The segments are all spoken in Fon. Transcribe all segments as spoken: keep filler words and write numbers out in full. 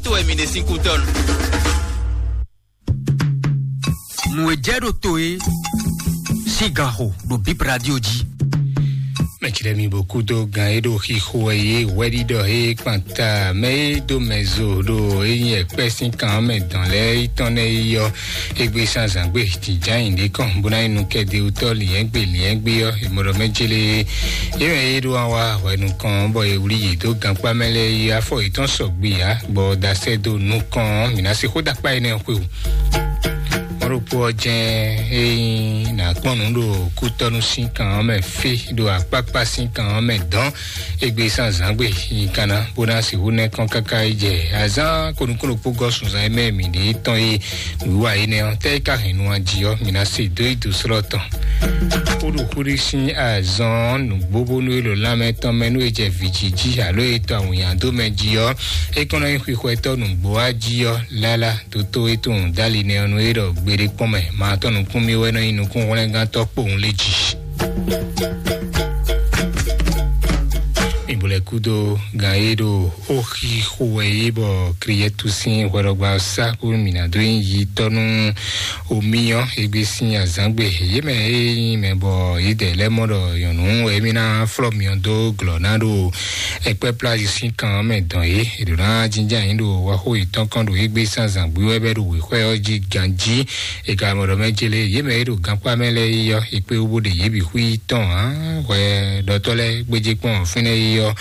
To wɛ mi ɖe sín kútɔ́nu. Nǔ e jɛ ɖo to é sín ganxo ɖo Bip Radio jí. Mɛtsi ɖe mi bó kúdó gan e ɖo xixo wɛ yé wɛɖiɖɔ e kpanta mɛ e ɖo mɛ zo ɖo e nyí ɛkpɛ sín kan mɛ dɔn lɛ́ɛ yi tɔn nɛ yi yɔ. Egbe sanzangbe jǐjǎnyi ɖé kɔn bó ná nyí nukɛ́dewutɔ́ liɛ́ngbe liɛ́ngbe ɔ́, è mɔ ɖɔ mɛ jélé. Yé mɛ e ɖo awa hwɛ nukɔn bɔ è wlí yě dó gankpá mɛ lɛ́ɛ yi afɔ yětɔn sɔgbe ǎ, bɔ dasɛ dó nukɔn mǐ ná se xó ɖakpá énɛ́ xwe o. Mɔɖokpó ɔ́ jɛ́n é nyí nǎ kpɔ́n nǔ ɖo kútɔ́nú sín kan ɔ́ mɛ fí, ɖo akpákpá sín kan ɔ́ mɛ dɔn. Egbe sanzangbe nyi kanna bó ná sixú nɛ́ kɔn káká yi jɛ azán konukúnukpó gɔ́ sunzan e mɛ mǐ ɖe tɔn yi. Wíwá énɛ́ ɔ́, tɛ́ é ka hɛn nu ají ɔ́, mǐ ná se dó yi dǒ slɔ́ tɔn. Xúɖuxúɖu sín azɔn nǔgbó bónú é ɖo lanmɛ tɔn mɛ nú é jɛ vǐjiji alo é tɔ awǐnnya dó mɛ jí ɔ́, é kɔn nɔ nyí xwixwɛtɔ́ nǔgbó ají ɔ́, lála dótó é tunwun dali nɛ ɔ́ nú é ɖɔ gbeɖé kpɔ́n mɛ, ma tɔn nukún mì wɛ nɔ nyí nukúnhwlɛ́ngántɔ́ kpowun lé jí. Mi bo lɛ kúdó gan e ɖo oxi xo wɛ yé bɔ kriyɛtu sín hwɛɖɔgba sá kú mǐ ná dó nyi yi tɔ́ nú omi ɔ́, égbé sín azǎngbe yé mɛ e nyí mɛ bɔ yědɛɛ lɛ́ mɔ ɖɔ nyɔ̌nu wɛ émí ná flɔ́ myɔ dó glɔ̌ ná ɖo ɛkpɛ́ plází sín kan ɔ́ mɛ dɔn yé. È ɖǒ ná jínjɔ́n ayǐ ɖo waxó yětɔn kɔn ɖo égbé sín azǎngbe wɛ bɛ́ ɖo wěxwɛ́ ɔ́ jí ganjí. È ka mɔ ɖɔ mɛ jélé yě mɛ e ɖo gankpá mɛ lɛ́ɛ yi ɔ́, è kpé wú bó ɖe yě bǐ xwí tɔn ǎ. Hwɛ ɖɔtɔ́ lɛ́ɛ gbéjé kpɔ́n fínɛ́ yi ɔ́,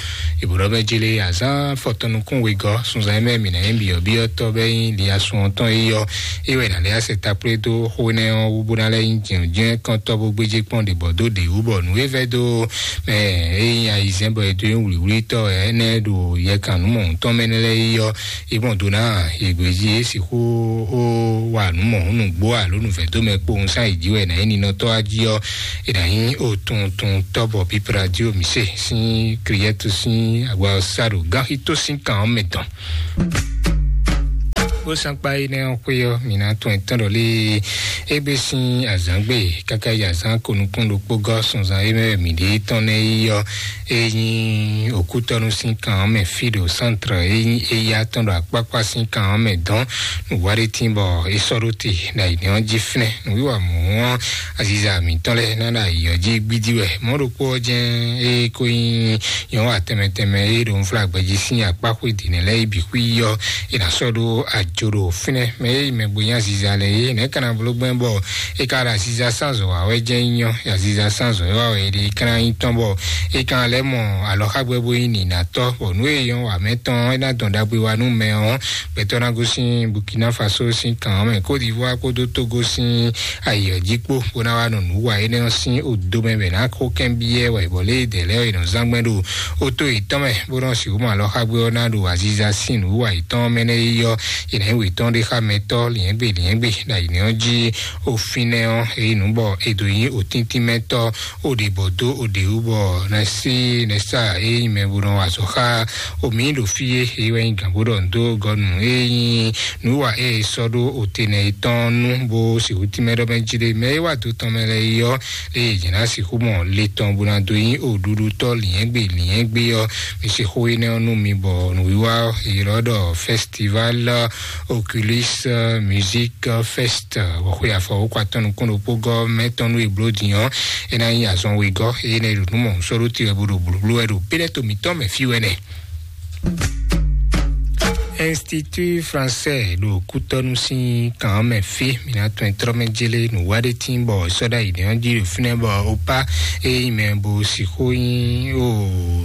è bǒ ɖɔ mɛ jélé azán fɔtɔn nukún wegɔ́ sunzan e mɛ mǐ ná nyí byɔ̌byɔ́tɔ́ bɛ́ nyí li asun ɔ́ tɔn yi ɔ́, é wɛ è nǎ lɛ́ asɛ takplé dó xó énɛ́ ɔ́ wú bó ná lɛ́ nyí jǐnjɛ́n kɔntɔ́ bó gbéjé kpɔ́n ɖě bɔ dó ɖě wú bɔ nǔ e vɛ́ dó mɛ e nyí ayizɛ́n bɔ è dó nyí wlǐwlítɔ́ ɛnɛ́ ɖo yɛkan nǔ mɔ̌huntɔn mɛ nɛ́ lɛ́ɛ yi ɔ́, é mɔ do ná yěgbéjí é sixú ó wa nǔ mɔ̌hun nǔgbó alo nǔvɛ́dómɛ kpowun sán yě jí wɛ è nǎ nyí ninɔtɔ́ wá jí ɔ́, è nǎ nyí otuntun tɔ́bɔ pípla jí omi se sín kriyɛ́tu sín agba ɔ́ sá ɖo gánxító sín kan ɔ́ mɛ tɔn. Ó sankpa énɛ́ ɔ́ xwé ɔ́, mǐ ná tún ɛ tɔn ɖɔ lé égbé sín azǎngbe káká yi azǎn ko nukún ɖokpó gɔ́ sunzan é mɛ wɛ mǐ ɖe tɔn nɛ́ yi ɔ́, é nyí òkútɔ́nú sín kan ɔ́ mɛ fí ɖo sántre é nyí éyá tɔn ɖo akpákpá sín kan ɔ́ mɛ dɔn nǔwá ɖé tín bɔ é sɔ́ ɖó te ɖo ayǐ ɔ́ jí fínɛ́. Nǔwiwa mɔ̌ ɔ́, aziza mǐtɔn lɛ́ɛ ná ɖo ayǐ ɔ́ jí gbídí wɛ. Mɔ̌ ɖokpó ɔ́ jɛ́n é ko nyí nyɔ̌nu atɛmɛ tɛnmɛ e ɖo nflágbɛjí sín akpá xwé dǐnɛ́ lɛ́ɛ yi bǐ xwí ɔ́, è nǎ sɔ́ ɖó ajo ɖo fínɛ́. Mɛ e yi mɛ gbe nyí aziza lɛ́ɛ é, nɛ̌ ka ná bló gbɛn bɔ é ka ɖo aziza sín azɔ̌ wa wɛ jɛ́n nyí ɔ́, aziza sín azɔ̌ wa wɛ é ɖe é ka ná nyí tɔn bɔ é ka ná lɛ́ mɔ alɔxágbɛ́ bó nyí nǐnátɔ́, bɔ nǔ e nyɔ́ wa mɛ tɔn é ná dɔn ɖagbe wa nú mɛ ɔ́, gbɛtɔ́ ná gosín Burkina Faso sín kan ɔ́ mɛ, Côte d'Ivoire kpódó Togo sín ayǐ ɔ́ jí kpó, bó ná wá nɔ nǔ wa énɛ́ ɔ́ sín odo mɛ bɛ ná xó kɛ́n byɔ́ wɛ, bɔ lě e dɛ̌ lɛ́ɛ ɔ́ è nɔ zán gbɛn ɖo ótó yětɔn mɛ, bó nɔ sixú mɔ alɔxágbé ɔ́ ná ɖo aziza sín nǔ wa yětɔn mɛ nɛ́ yi ɔ́, è nǎ yi wětɔn ɖé xá mɛtɔ́ liɛ̌ngbè liɛ̌ngbè ɖo ayǐ ɔ́ jí. Ofinɛ ɔ́, èyí nǔ bɔ è dǒ nyí òtíntínmɛtɔ́, ó ɖe bɔ dó ó ɖe wú bɔ nɛsí nɛsá e nyí mɛ bó nɔ wa azɔ̌ xá omi ɖo fí é, é wɛ nyí gǎn bó ɖɔ nǔ dó gɔ́nu e nyí nǔwa e è sɔ́ ɖó òtenɛ yětɔn nú bó sixú tínmɛ ɖɔ mɛ jí ɖé. Mɛ e wá do tɔn mɛ lɛ́ɛ yi ɔ́, lě e yě ná sixú mɔ le tɔn bó ná dó nyí òɖuɖutɔ́ liɛ̌ngbè liɛ̌ngbè ɔ́, mi sixú énɛ́ ɔ́ nú mi bɔ nǔwiwa ɔ́, è ylɔ́ ɖɔ Festival Oculus Music Fest, bɔ xwe afɔ wǒ kɔ atɔ́ nukún ɖokpó gɔ́ mɛ tɔn nú e bló din ɔ́, é ná nyí azɔn wegɔ́, é ná yi ɖo nǔ mɔ sɔ́ ɖó te wɛ bó ɖo blǔblú wɛ ɖo péɖɛ́to mǐtɔn mɛ fí wɛ nɛ. Institut Français ɖo kútɔ́nú sín kan mɛ fí, mǐ ná tɔn trɔ́ mɛ jélé nǔ wá ɖé tín bɔ sɔ́ ɖ'ayǐ ɖé ɔ́ jí ɖo fínɛ́ bɔ ó pá é nyí mɛ bó sixú nyí ó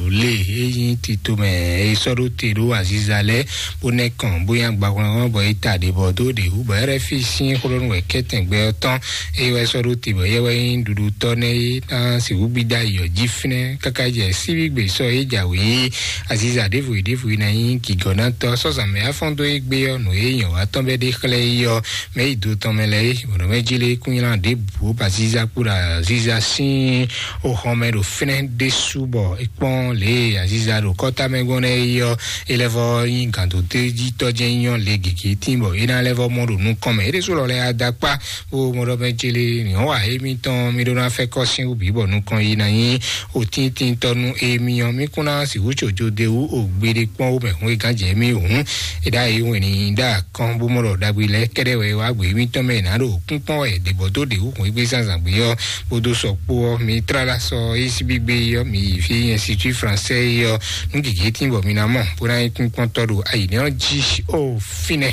lé é nyí tito mɛ é sɔ́ ɖó te ɖó aziza lɛ́ɛ bó nɛ́ kɔn bó nyí agbahwlɛ́nhɔn bɔ é ta ɖě bɔ dó ɖě wú bɔ R F I sín xlɔ́nú wɛ kɛ́tɛn gbɛ ɔ́ tɔn. Eye wɛ sɔ́ ɖó te bɔ éyɛ́ wɛ nyí ɖuɖutɔ́ nɛ́ é ná sixú gbídá yi ɔ́ jí fínɛ́ káká jɛ síbígbe sɔ́ é jǎwe é aziza ɖěvo e ɖěvo e ná nyí gǐgɔ́nátɔ́ sɔ́zǎn mɛ afɔ́n dó égbé ɔ́ nǔ e nyɔ̌ wa tɔn bɛ́ ɖe xlɛ́ é ɔ́ mɛ yi do tɔn mɛ lɛ́ɛ é bɔ̌ nɔ mɛ jí lé kún nylá ɖěbǔ bɔ aziza kpó ɖo aziza sín oxɔmɛ ɖo fínɛ́ ɖésú bɔ é kpɔ́n lě e aziza ɖo kɔ́ta mɛ gbɔn nɛ́ é ɔ́ é lɛ́ vɔ nyí gǎndótejítɔ́ jɛ́n nyɔ́ le gěgé tín bɔ é ná lɛ́ vɔ mɔ ɖo nukɔn mɛ é ɖésú lɔ lɛ́ adakpá. Ó mɔ ɖɔ mɛ jele nyɔ̌ wa émítɔn mí ɖó ná fɛ́ kɔ́ sín wú bǐ bɔ nukɔn yi ná nyí òtíntintɔ́ nú émí ɔ́ mí kún ná sixú tso jóde wú o gbeɖé kpɔ́n wú mɛ hun e gán jɛ émí hǔn È ɖa yi wɛn ní ɖa kɔn bó mɔ ɖɔ ɖagbe lɛ kɛɖɛ wɛ wá gbé mítɔn mɛ nǎ ɖo kúnkpɔ́n wɛ ɖě bɔ dó ɖě wú hɔn gbé zazan gbé ɔ́, bó dó sɔ kpó ɔ́, mi tlala sɔ é sí gbígbé ɔ́, mi yi fí nyɛ situi fransɛ ɔ́, nú gěgé tín bɔ mi ná mɔ bó ná nyí kúnkpɔ́ntɔ́ ɖo ayǐ nɛ́ ɔ́ jí ó fínɛ́.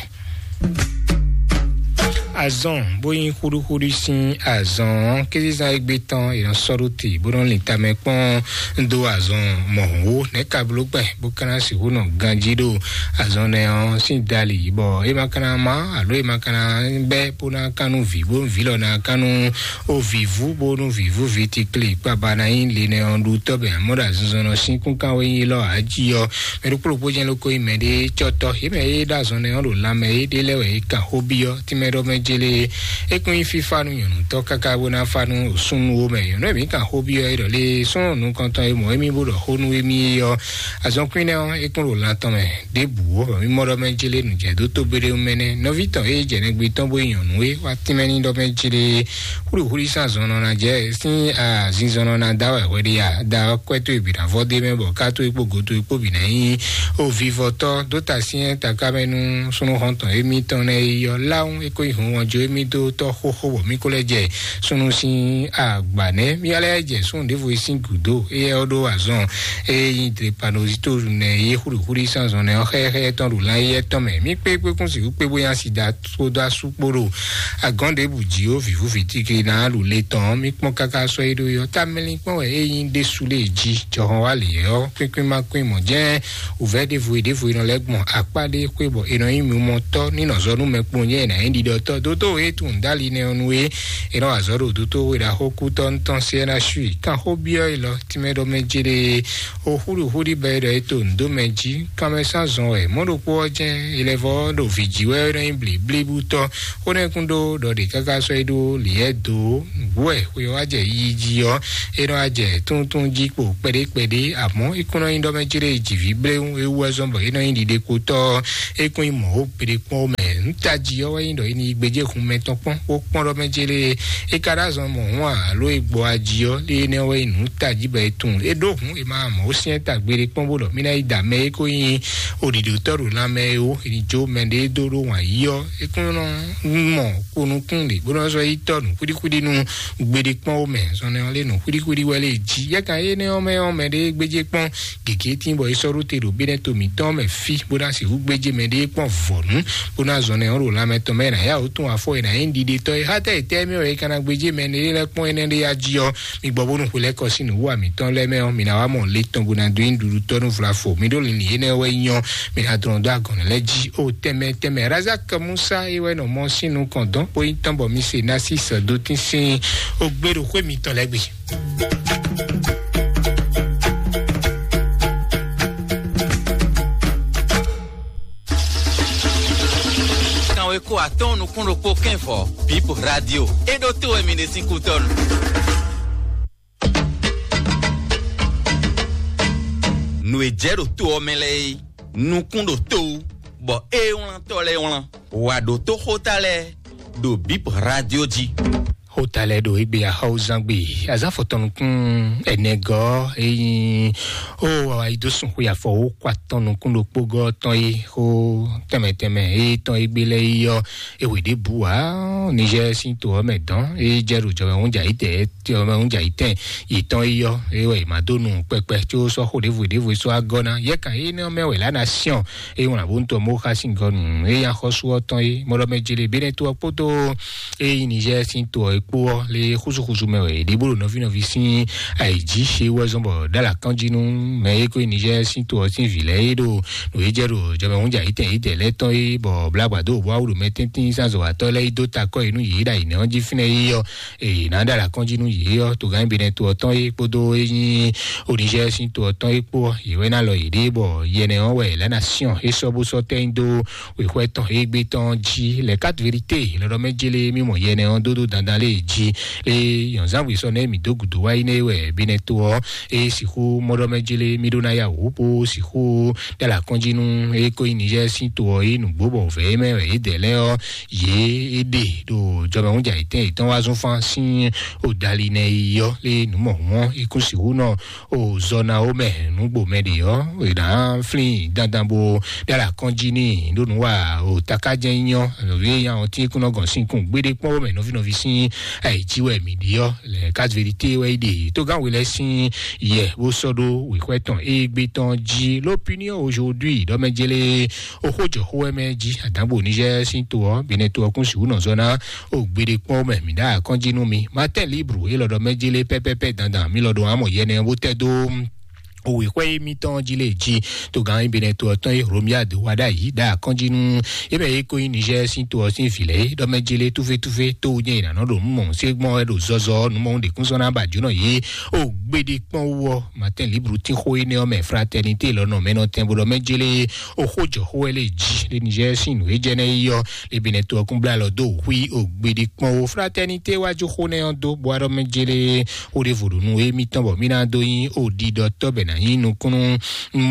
Azɔn bó nyí xúɖúxúɖú sín azɔn ɔ́, kézezán égbé tɔn è nɔ sɔ́ ɖó te bó nɔ lin tamɛ kpɔ́n dó azɔn mɔ̌hunwó nɛ̌ ka bló gbɛn bó ka ná sixú nɔ ganjí ɖo azɔn nɛ ɔ́ sín dali, bɔ é ma ka ná má alo é ma ka ná bɛ́ bó ná kan nú vǐ bó nú vǐ lɔ ná kan nú ó vǐvú bó nú vǐvú vǐtikli kpaba ná nyí linɛ ɔ́ ɖu tɔ́ bɛ amɔ̌ ɖo azinzɔnnɔ sín kúnkan wɛ nyí lɔ ǎ jí ɔ́. Mɛ ɖokpó ɖokpó jɛ́n lóko nyí mɛɖé cɔ́tɔ́ yě mɛ é ɖo azɔn nɛ́ ɔ́ ɖo lanmɛ é ɖé lɛ́ wɛ é kan xó byɔ́ tínmɛ ɖɔ mɛ jélé. É kún nyí fífá nú nyɔ̌nutɔ́ káká bó ná fá nú súnnu ó mɛ. Nyɔ̌nu e mǐ kan xó byɔ́ é ɖɔ lé súnnu nukɔntɔn e mɔ émí bó ɖɔ xó nú émí é ɔ́, azɔn kwín nɛ́ ɔ́ é kún ɖo lan tɔn mɛ ɖěbǔ ó. Bɔ mí mɔ ɖɔ mɛ jélé nǔjɛdó tógbéɖéwú mɛ nɛ́ nɔví tɔn e jɛ nɛgbé tɔn bó nyí nyɔ̌nu é wá tínmɛ ní ɖɔ mɛ jélé. Xúɖuxúɖu sín azɔn nɔ ná jɛ sín azinzɔn nɔ ná da wɛ hwɛ ɖé ya da ɔ́ kwɛ tó e bǐ ná vɔ dé mɛ bɔ ká tó e kpó goto e kpó bǐ ná nyí o vivɔtɔ́ dó ta syɛ́n taká mɛ nú súnnu xɔntɔn émítɔn nɛ́ yi ɔ́ láwún é kó nyi hun wɔn jó émí dó tɔ́ xóxó bɔ mí kó lɛ́ jɛ súnnu sín agba nɛ́. Mí ká lɛ́ jɛ súnnu ɖěvo e sín gǔdo éyɛ́ ɔ́ ɖó azɔn e nyí drepanozito nɛ yé xúɖuxúɖu sín azɔn nɛ ɔ́ xɛ́xɛ́ tɔn ɖo lan éyɛ́ tɔn mɛ. Mí kpé kpé kún sixú kpé bó nyá sida kpódó asú kpó ɖo agɔ̌n ɖěbǔ jí ó vǐvú vǐtígli ná ɖu le tɔn ɔ́, mí kpɔ́n káká sɔ́ é ɖó yɔ. Tamɛlin kpɔ́n wɛ é nyí ɖésú lé jí jɔhɔn wá lě ɔ́, kwín kwín má kwín mɔ̌ jɛ́n wǔvɛ́ ɖěvo e ɖěvo e nɔ lɛ́ gbɔn akpá ɖé xwé bɔ è nɔ nyí mimɔtɔ́ ní nɔ zɔ nú mɛ kpowun jɛ́n è nǎ nyí ɖiɖɔtɔ́. Dótó e tunwun dó ali nɛ́ ɔ́ nú é, è nɔ wa azɔ̌ ɖo dótó e ɖo axókútɔ́ tɔn sí ɛ ná sú i. Kan xó byɔ́ e lɔ tínmɛ ɖɔ mɛ jé ɖe o xúɖuxúɖu bɔ é ɖɔ é to nǔ dó mɛ jí. Kanmɛ sín azɔn wɛ mɔ̌ ɖokpó ɔ́ jɛ́n è lɛ́ vɔ́ ɖo vǐ jí wɛ é nɔ nyí blǐblíbútɔ́. Xó nɛ́ kún ɖó ɖɔ ɖě káká sɔ́ é ɖó lǐyɛ́ dó nǔgbó wɛ xwe ɔ́ wá jɛ yiyi jí ɔ́, é nɔ wá jɛ túntún jí kpo kpɛɖé kpɛɖé. Amɔ̌ é kún nɔ nyí ɖɔ mɛ jí ɖé jǐví bléwún é wú wɛ zɔ́n bɔ é nɔ nyí ɖiɖekpotɔ́ ɔ́, é kún nyí mɔ̌ ó kpeɖé kpɔ́n ó mɛ. Nǔ tají ɔ́ wɛ nyí ɖɔ é ní yi gbéjé hun mɛ tɔn kpɔ́n bó kpɔ́n ɖɔ mɛ jí ɖé é ka ɖó azɔn mɔ̌ hɔn alo é gbɔ ají ɔ́, lé énɛ́ wɛ nyí nǔ tají bɔ é tunwun é ɖó hǔn é ma mɔ̌ ó syɛ́n ta gbeɖé kpɔ́n bó ɖɔ mí ná yi da mɛ é kó nyí oɖiɖotɔ́ ɖo lanmɛ é ó, è ní jó mɛɖé dó ɖó wǎn yí ɔ́, é kún nɔ mɔ ko nukún ɖě bó nɔ sɔ́ yi tɔ́ nǔ xwíɖíxwíɖí nú gbeɖé kpɔ́n ó mɛ. Zɔnlin ɔ́ lé nǔ xwíɖíxwíɖí wɛ lé jí. Yɛ kan énɛ́ ɔ́ mɛ ɔ́, mɛɖé gbéjé kpɔ́n gěgé tín bɔ é sɔ́ ɖó te ɖo bínɛ́ to mǐtɔn mɛ fí bó ná sixú gbéjé mɛɖé kpɔ́n vɔ̌nu bó ná zɔnlin ɔ́ ɖo lanmɛ tɔn mɛ ná yá wǒ tún afɔ è nǎ nyí ɖiɖetɔ́ é. Xá tɛ è tɛ́ mɛ wɛ è ka ná gbéjé mɛ énɛ́ lɛ́ kpɔ́n énɛ́ ɖé yá jí ɔ́, mi gbɔ bónú xwe lɛ́ kɔ sín nǔwú mǐtɔn lɛ́ɛ mɛ ɔ́, mi ná wá mɔ le tɔn bó ná dó nyí ɖuɖutɔ́ nú vlafo. Mi ɖó linlin énɛ́ wɛ nyɔ́, mi ná dlɔ́n dó agɔ̌n lɛ́ɛ jí ó tɛnmɛ tɛnmɛ. Razak Musa é wɛ nɔ mɔ sín nukɔn dɔn bó nyí tɔn bɔ mi se ná sí sɛ̌dótín sín ó gbé ɖo xwé mitɔn lɛ́ɛ gbe. Kanwe ko atɔn nukún ɖokpó kɛn vɔ, Bip Radio. É ɖó to wɛ mi ɖe sín kútɔ́nu. Nǔ e jɛ ɖo to ɔ́ mɛ lɛ́ɛ é, nukún ɖo to wú, bɔ é wlántɔ́ lɛ́ɛ wlán. Wǎ ɖó tó xóta lɛ́ɛ ɖo Bip Radio jí. Xóta lɛ́ɛ ɖo égbé axɔ́wúzán gbe azán fɔtɔn nukún ɛnɛgɔ́ é nyí ó wá yi dó sun xwe afɔ wó kó atɔn nukún ɖokpó gɔ́ tɔn é xó tɛnmɛ tɛnmɛ é tɔn égbé lɛ́ɛ é yɔ é wě ɖěbǔ ǎ. Nizɛ́ɛ sín to ɔ́ mɛ dɔn é jɛ ɖo jɔmɛ húnjà yí tɛ jɔmɛ húnjà yí tɛn yětɔn é yɔ é wɛ è má dó nu kpɛkpɛ có sɔ́ xó ɖěvo ɖěvo é sɔ́ wá gɔ́ ná. Yɛ kan énɛ́ ɔ́ mɛ wɛ lá ná syɔ́n é wlán bó ń tɔ mó xá sín gɔ́ nǔ é nyí axɔ́sú ɔ́ tɔn é mɔɖɔmɛ jele Benɛto ɔ́ kpódó é nyí Nizɛ́ɛ sín to ɔ́ é kpó ɔ́ lé xúsúxúsú mɛ wɛ è ɖe bó ɖo nɔví nɔví sín ayǐ jí é wɛ zɔ́n bɔ ɖó alǎ kán jí nú mɛ e ko nyí Nizɛ́ɛ sín to ɔ́ sín vǐ lɛ́ɛ é ɖo nǔ e jɛ ɖo jɔmɛ húnjà yítɛn yítɛn lɛ́ɛ tɔn é bɔ blágbadó bó wá wú ɖo mɛtɛ́ntín sín azɔ̌watɔ́ lɛ́ɛ yi dó ta kɔ́ yě nú yě ɖo ayǐnɛ ɔ́ jí fínɛ́ é ɔ́, èyí ná ɖo alǎ kán jí nú yě ɔ́ togán Benɛto ɔ́ tɔn é kpódó é nyí Onizɛ́ɛ sín to ɔ́ tɔn é kpó ɔ́, yě wɛ ná lɔ yěɖée bɔ yɛnɛ ɔ́ wɛ lɛ̌ ná syɔ́n é sɔ́ bó sɔ́ tɛ́ nyi dó wěxwɛ́ tɔn égbé tɔn jí. Les quatre vérités lɔɖɔ mɛ jélé mí mɔ yɛnɛ ɔ́ dó dó dandan lé jí lé yɔnzánwé sɔ nɛ mǐ dó gǔdo wá yi nɛ wɛ bí nɛ to ɔ́ é sixú mɔɖɔmɛ jí lé mí ɖó ná ya wǔ bó sixú ɖala kɔnjí nú é kó yi Niger sín to ɔ́ yi nǔgbó bɔ vɛ̌ mɛ wɛ é dɛ lɛ́ ɔ́ yě é ɖe ɖo jɔmɛhúnjà yětɛn yětɔn wá zún fán sín odali nɛ yi ɔ́ lé nǔmɔhún ɔ́ é kún sixú nɔ o zɔ na wo mɛ nǔgbó mɛ ɖe ɔ́ è nǎ flín dandan bó ɖala kɔnjí ní ɖó nǔ wa o takájɛ nyɔ lórí nya ɔ́ tí kún nɔ gɔn sín kún gbéɖé kpɔ́n wo mɛ nɔví nɔví sín ayǐjí wɛ mǐ ɖi ɔ́ lɛ kazivérité wɛ yi ɖe tógánwé lɛ́ sín yɛ bó sɔ́ ɖó wěxwɛ tɔn égbé tɔn jí. L'Opinion aujourd'hui ɖɔmɛjélé oxójɔxó wɛ mɛ jí àdǎgbò níjẹ́ sín to ɔ́ bínɛ to ɔ́ kún sixú nɔ zɔ ná o gbeɖé kpɔ́n mɛ mǐ ɖá akɔ́njí nú mi. Matin Libre élɔ́ ɖɔmɛjélé pɛ́pɛ́pɛ́ dandan mí lɔ́ ɖo amɔ yɛ nɛ bó tɛ́ dó òwe xwɛ émítɔn jí lé jí togán ibinɛ to ɔtɔn e Romiade wá ɖ'ayǐ ɖa akɔ́njí nú ebe e ko nyí Niger sín to ɔ́ sín vǐ lɛ́ɛ ɖɔmɛjélé túfétúfé tó nyɛ ìnànà ɖo mú mɔ̀hún sé gbɔn ɛ ɖo zɔzɔ nú mɔ̀hún ɖèkún sɔ́ ná ba jǒnɔ yé o gbéɖé kpɔ́n wú ɔ́. Matin Libre tín xó énɛ́ ɔ́ mɛ fraternité lɔ nɔ mɛ nɔ tɛn bó ɖɔmɛjélé o xó jɔ xó wɛ lé jí lé Niger sín nǔ e jɛ nɛ yi ɔ́ lé binɛ to ɔ́ kún blá lɔ dó xwí o gbéɖé kpɔ́n wú fraternité wá jó xó nɛ ɔ́ dó bó wá ɖɔmɛjélé xó ɖěvo ɖo nú émítɔn bɔ mí ná dó nyí òɖiɖɔtɔ́ bɛ ná nyí nukúnnú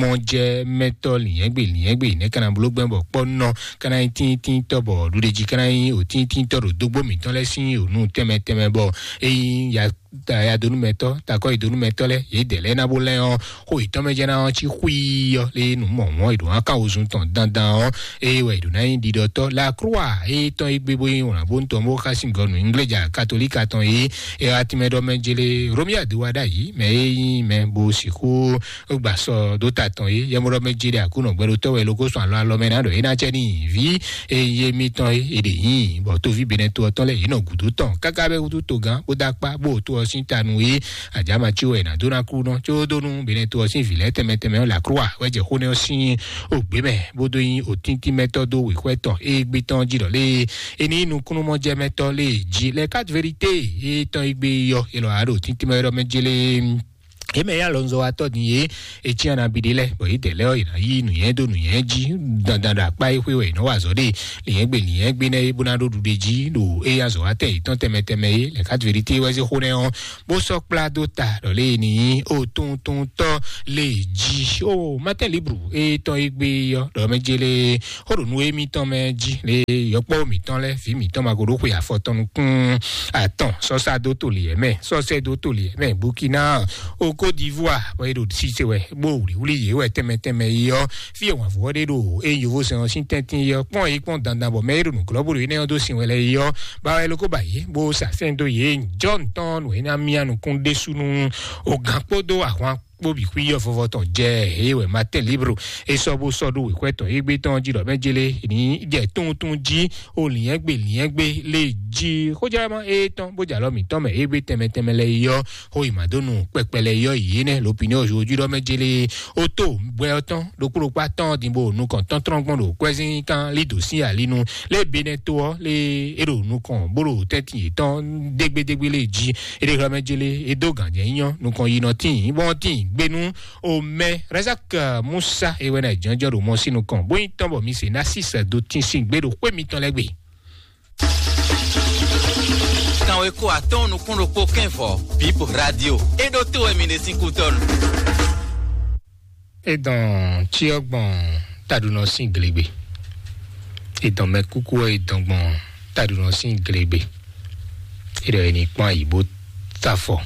mɔjɛmɛtɔ́ lǐnyɛ́gbe lǐnyɛ́gbe nɛ̌ ka ná bló gbɛ́ bɔ kpɔ́nɔ ka ná nyí tíntínntɔ́ bɔ ɖuɖéjí ka ná nyí òtíntínntɔ́ ɖo dógbó mǐtɔn lɛ́ɛ sín ònú tɛnmɛ tɛnmɛ bɔ é nyí ya yadonúmɛtɔ́ takɔ́yidonúmɛtɔ́ lɛ́ɛ yě dɛ lɛ́ɛ ná bó lɛ́ ɔ́ xó yětɔn mɛ jɛ ná ɔ́ cí xwíí ɔ́ lé nǔ mɔ̌mɔ́ è ɖǒ ná kan wozun tɔn dandan ɔ́ eye wɛ è ɖǒ ná nyí ɖiɖɔtɔ́ la croix eye tɔn é gbé bó nyí wlǎn bó ń tɔn bó xá sín gɔnu ingléja katolíka tɔn é ɛ wá tínmɛ ɖɔ mɛ jélé Romiade wá ɖ'ayǐ mɛ é nyí mɛ bó sixú gbà sɔ dó ta tɔn é yɛmɔɖɔ mɛ jélé Aklúnɔ gbɛɖotɔ́ wɛ lókó sɔn alɔ alɔ mɛ ná ɖɔ é ná cɛ ní vǐ eye mítɔn é è ɖě nyí bɔ tóví benɛ to ɔtɔn lɛ yě nɔ gǔdo tɔn káká bɛ wútu togán bó dó akpá bó tó ɔ́ sín ta nú é àjàmà cí wɛ è nǎ dó ná kú nɔ có dó nú benɛ to ɔ́ sín vǐ lɛ́ɛ tɛnmɛ tɛnmɛ ɔ́ lǎ croix wɛ jɛ xó nɛ́ ɔ́ sín ògbé mɛ bó dó nyí òtíntímɛtɔ́ dó wěxwɛ́ tɔn égbé tɔn jí ɖɔ lé é ní nukúnnú mɔjɛmɛtɔ́ lé jí lɛ quatre vérité é tɔn égbé yɔ é lɔ á ɖo tíntímɛ ɖɔ mɛ jélé é mɛ yá lɔnzɔ́watɔ́ din é é cyán ná bi ɖé lɛ́ɛ bɔ yě dɛ lɛ́ ɔ́ yě ná yí nǔnyɛ dó nǔnyɛ jí dandan ɖo akpá é xwé wɛ yě nɔ wa azɔ̌ ɖe lǐnyɛ́gbe lǐnyɛ́gbe nɛ́ é bó ná ɖó ɖuɖe jí ɖo é yá azɔ̌watɛ́ yětɔn tɛnmɛ tɛnmɛ é lɛ quatre vérité wɛ zé xó nɛ́ ɔ́ bó sɔ́ kplá dó ta ɖɔ lé ní ó tuntun tɔ́ lé jí ó Matin Libre é tɔn é gbé ɔ́ ɖɔ mɛ jélé xó ɖo nú émítɔn mɛ jí lé yɔkpɔ́ mǐtɔn lɛ́ɛ vǐ mǐtɔn ma ko ɖó xwe afɔ tɔn nukún atɔn sɔ́sá dó toli ɛ mɛ sɔ́sɛ dó toli ɛ mɛ Burkina o Côte d'Ivoire bɔ é ɖo sise wɛ bó wlǐwlí yě wɛ tɛnmɛ tɛnmɛ yi ɔ́ fí e wǎnvú ɔ́ ɖe ɖo é yovózɛn ɔ́ sín tɛ́ntin yi ɔ́ kpɔ́n yí kpɔ́n dandan bɔ mɛ é ɖo nǔglɔ́ bó ɖo énɛ́ ɔ́ dó sin wɛ lɛ́ɛ yi ɔ́ ba wɛ lókó ba yě bó sa sɛ́n dó yě jɔ́n tɔn nǔ é ná mía nukún ɖésú nú o gǎn kpódó ahwan kpó bǐ xwí yɔ vɔvɔ tɔn jɛ eye wɛ Matin Libre é sɔ́ bó sɔ́ ɖó wěxwɛ́ tɔn égbé tɔn jí ɖɔ mɛ jélé ní jɛ tuntun jí o lǐnyɛ́gbe lǐnyɛ́gbe lé jí xójálama é tɔn bó jɛ alɔ mǐtɔn mɛ égbé tɛnmɛ tɛnmɛ lɛ yɔ xó yi mǎ dó nu kpɛkpɛ lɛ yɔ yě nɛ l'opinion aujourd'hui ɖɔ mɛ jélé ó tó gbɛ ɔ́ tɔn ɖokpó ɖokpó atɔn din bó nukɔn tɔntɔn gbɔn ɖo kwɛzín kan lí dǒ sín alinu lé benɛ tó ɔ́ lé é ɖo nukɔn bó ɖo tɛ́ntin yětɔn dégbédégbé lé jí é ɖe xlɔ́ mɛ jélé é dó gǎnjɛ nyɔ nukɔn yi nɔ tín bɔn tín gbénú o mɛ Razak Musa é wɛ ná jɔnjɔn ɖo mɔ sín nukɔn bó nyí tɔn bɔ mi se ná sísɛ dó tín sín gbé ɖo xwé mitɔn lɛ́ɛ gbe. Kanweko atɔ́ɔ́n nukún ɖokpó kɛ́nvɔ Bib Radio é ɖó tó wɛ mi ɖe sín kútɔ́nu. É dɔn cyɔ gbɔn taɖunɔ sín glegbe. É dɔn mɛ kúkú ɔ́ é dɔn gbɔn taɖunɔ sín glegbe. É ɖɔ é ní kpɔ́n ayǐ bó sá fɔ.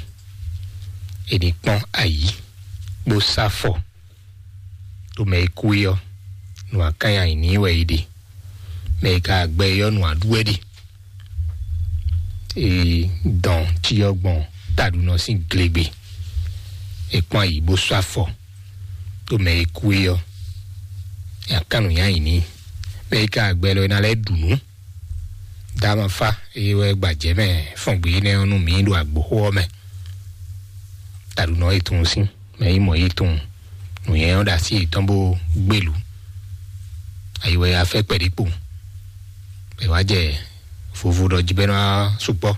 É ní kpɔ́n ayǐ bó sá fɔ. Ɖo mɛ e kú é ɔ́, nǔ akán nyi ayǐ n'i wɛ é ɖe. Mɛ e ka gbɛ é ɔ́, nǔ aɖú wɛ ɖe. Ee, dɔn cyɔ gbɔn taɖunɔ sín glegbe. È kpɔ́n ayǐ bó sɔ́ afɔ ɖó mɛ e kú é ɔ́, è nǎ kán nǔ nyi ayǐ n'i. Mɛ e ka gbɛ lɔ é ná lɛ́ ɖu nǔ. Dama fá eye wɛ gbajɛ mɛ fɔn gbe énɛ́ ɔ́ nú mǐ ɖo agboxó ɔ́ mɛ. Taɖunɔ e tunwun sín mɛ yi mɔ yi tunwun nǔnyɛ ɔ́ ɖo así yětɔn bó gbélú. Ayi wɛ afɛ kpɛɖé kpo. È wá jɛ vovo ɖɔ jí bɛ́ ná sukpɔ́.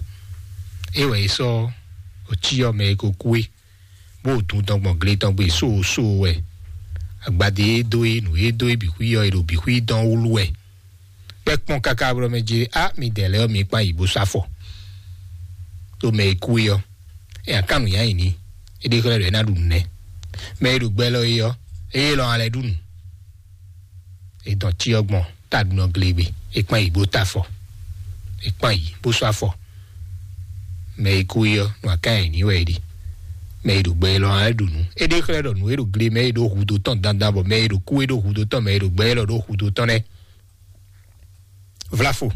É wɛ è sɔ́ òcí ɔ́ mɛ e ko kú é, bó dun tɔn gbɔn gle tɔn gbe sóosóo wɛ. Agbadé e dó é, nǔ e dó é bǐ xwí ɔ́, è ɖo bǐ xwí dɔn wlú wɛ. Kpɛ́ kpɔ́n káká blɔ́ mɛ jí, á, mi dɛ lɛ́ɛ ɔ́, mi kpán yi bó sá fɔ. Ɖó mɛ e kú é ɔ́, é nya kan nǔ nyi ayǐ n'i. É ɖe xlɛ́ ɖɔ é ná ɖu nǔ nɛ́. Mɛ e ɖo gbɛ élɔ́ é ɔ́, é élɔ́ ná lɛ́ ɖu nǔ. È dɔn cyɔ gbɔn taɖunɔ glegbe. È kpan yǐ bó ta afɔ. È kpan yǐ bó sɔ́ afɔ. Mɛ e kú é ɔ́, nǔ akan nyi n'i wɛ é ɖe. Mɛ e ɖo gbɛ élɔ́ ná lɛ́ ɖu nǔ. É ɖe xlɛ́ ɖɔ nǔ e ɖo gle mɛ é ɖo hudó tɔn dandan, bɔ mɛ e ɖo kú é ɖo hudó tɔn, mɛ e ɖo gbɛ élɔ́ ɖo hudó tɔn nɛ́. Vlafo.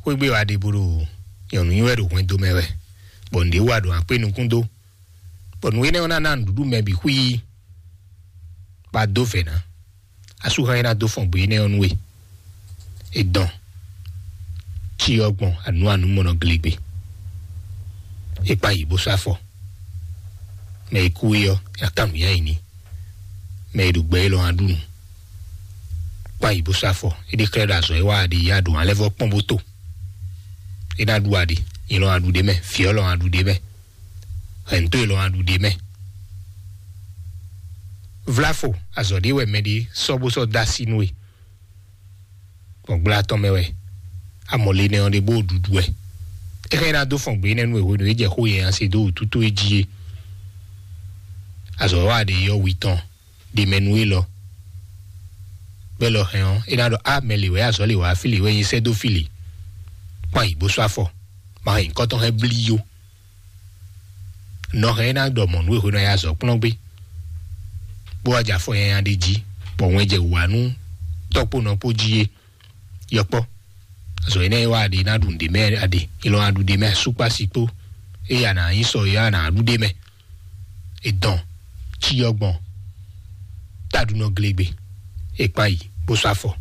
Xwégbé wa ɖe bó ɖo nyɔ̌nu nyi wɛ ɖo hwɛndo mɛ wɛ, bɔ nǔɖé wa ɖo akpé nukún dó, bɔ nǔ énɛ́ ɔ́ ná ná nǔɖuɖu mɛ bǐ xwíí. Ba dó vɛ̌ ná. Asúxan e ná dó fɔn gbe énɛ́ ɔ́ nú we. È dɔn. Cyɔ gbɔn anǔ anǔ mɔnɔ glegbe. È kpan yǐ bó sɔ́ afɔ. Mɛ e kú é ɔ́, é ná kan nǔ nyi ayǐ n'i. Mɛ e ɖo gbɛ élɔ́ ná ɖu nǔ. Kpan yǐ bó sɔ́ afɔ. É ɖe xlɛ́ ɖɔ azɔ̌ e wa aɖi ya ɖo alɛ́vɔ́ kpɔ́n bó to. É ná ɖu aɖi. Nyɛ lɔ ná ɖu ɖ'é mɛ. Vǐ ɔ́ lɔ ná ɖu ɖ'é mɛ. Hɛ̌nto e lɔ ná ɖu ɖ'é mɛ. Vlafo, azɔ̌ ɖé wɛ mɛɖé sɔ́ bó sɔ́ dó así nú we. Gbɔn gbla tɔn mɛ wɛ. Amɔ̌ le nɛ ɔ́ ɖe bó ɖuɖu wɛ. É xá ná dó fɔn gbě nɛ́ nú e hwenu e jɛ xó yɛ nya se dó wǔtútú e jí é. Azɔ̌ wa ɖe yɔ́ wi tɔn ɖe mɛ nú élɔ́. Bɛ́ lɔ hɛn ɔ́, é ná ɖɔ á mɛ lě wɛ azɔ̌ lě wá fí lě wɛ nyi sɛ́ dó fí lě. Kpan yǐ bó sɔ́ afɔ. Ma hɛn nyǐkɔ tɔn hɛn blí yó. Nɔ hɛn é ná ɖɔ mɔ̌ nú e hwenu e a yi azɔ̌ kplɔ́n gbé, bó wá jɛ afɔ nyanya ɖé jí, bɔ wɛn jɛ wǔ wá nú tɔ́kpónɔ kpó jí é. Yɔkpɔ́, azɔ̌ énɛ́ e wá aɖe ná ɖu nǔɖé mɛ aɖe, è lɔ ná ɖu ɖé mɛ asúkpási kpó, eye a nǎ nyí sɔ ɔ́, a nǎ ɖu ɖé mɛ. È dɔn cyɔ gbɔn taɖunɔ glegbe, è kpan yi bó sɔ́ afɔ.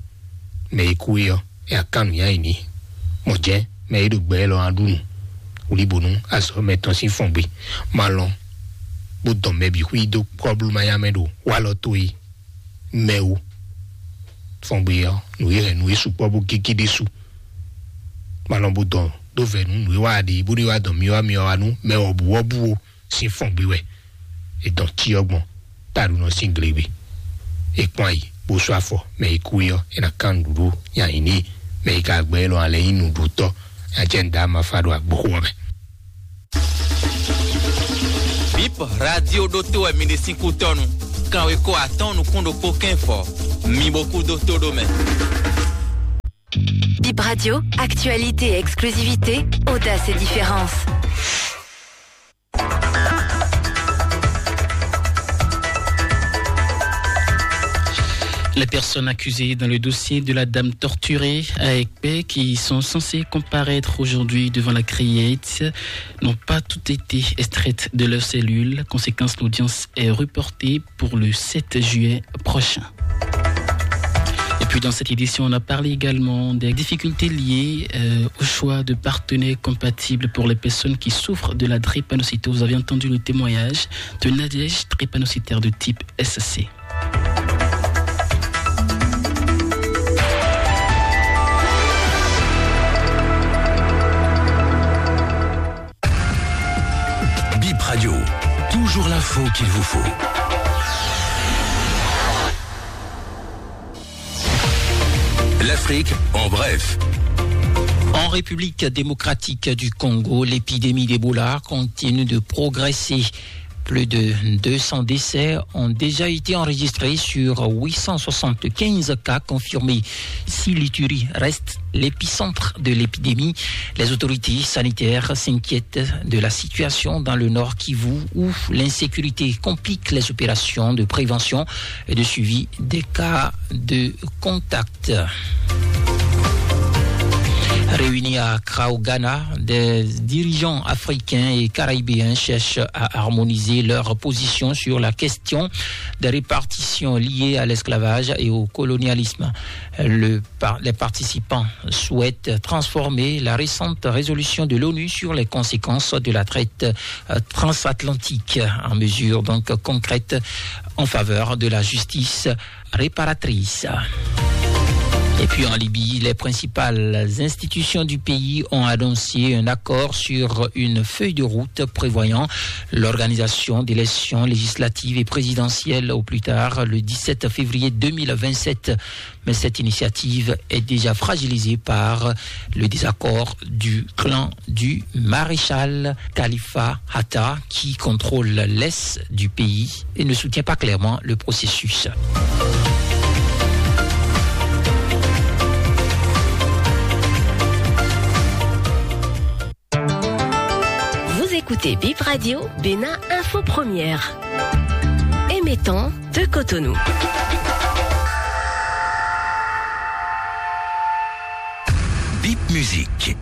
Mɛ e kú é ɔ́, é ná kan nǔnywɛ́ nyi n'i. Mɔ̌ jɛ́n mɛ e ɖo gbɛ élɔ́ ná ɖu nǔ wlíbo nú azɔ̌ mɛtɔn sín fɔngbe. Ma lɔn bó dɔn mɛ bǐ xwí dó kɔ́blú manyá mɛ ɖo walɔ towe mɛ ó. Fɔngbe ɔ́, nǔ e hɛn nǔ e sukpɔ́ bó gégé ɖésú. Ma lɔn bó dɔn ɖó vɛ̌ nú nǔ e wa ɖe bó ɖe wá dɔn myɔ wá myɔ wá nú mɛ wɔ̌buwɔ́bú ó. Sín fɔngbe wɛ è dɔn cyɔ gbɔn taɖunɔ sín glegbe. È kpɔ́n ayǐ bó sú afɔ, mɛ e kú é ɔ́, è nǎ kán nǔɖuɖu nyi ayǐ n'i. Mɛ e ka gbɛ élɔ́ ǎ lɛ́ɛ nyí nǔɖutɔ́, nya jɛ nǔɖé amafa ɖo agboxo ɔ́ mɛ. Bip radio ɖótó wɛ mi ɖe sín kú tɔnu. Kanweko atɔ́ɔ́n nukún ɖokpó kɛ́n fɔ, mi bo kú dó tó ɖó mɛ. Bip Radio, actualité et exclusivité, audace et différence. Les personnes accusées dans le dossier de la dame torturée à Ekpé, qui sont censées comparaître aujourd'hui devant la criette, n'ont pas toutes été extraites de leur cellule. Conséquence, l'audience est reportée pour le sept juillet prochain. Et puis dans cette édition, on a parlé également des difficultés liées, euh, au choix de partenaires compatibles pour les personnes qui souffrent de la drépanocytose. Vous avez entendu le témoignage de Nadège, drépanocytaire de type S C. Bip Radio, toujours l'info qu'il vous faut. L'Afrique en bref. En République démocratique du Congo, l'épidémie d'Ebola continue de progresser. Plus de deux cents décès ont déjà été enregistrés sur huit cent soixante-quinze cas confirmés. Si l'Ituri reste l'épicentre de l'épidémie, les autorités sanitaires s'inquiètent de la situation dans le nord Kivu, où l'insécurité complique les opérations de prévention et de suivi des cas de contact. Réunis à Accra au Ghana, des dirigeants africains et caribéens cherchent à harmoniser leur position sur la question des répartitions liées à l'esclavage et au colonialisme. Le par-, les participants souhaitent transformer la récente résolution de l'ONU sur les conséquences de la traite, euh, transatlantique en mesure donc concrète en faveur de la justice réparatrice. Et puis en Libye, les principales institutions du pays ont annoncé un accord sur une feuille de route prévoyant l'organisation d'élections législatives et présidentielles au plus tard le dix-sept février deux mille vingt-sept. Mais cette initiative est déjà fragilisée par le désaccord du clan du maréchal Khalifa Haftar, qui contrôle l'est du pays et ne soutient pas clairement le processus. Vous écoutez Bip Radio, Bénin Info Première. Émettant de Cotonou. Bip Musique.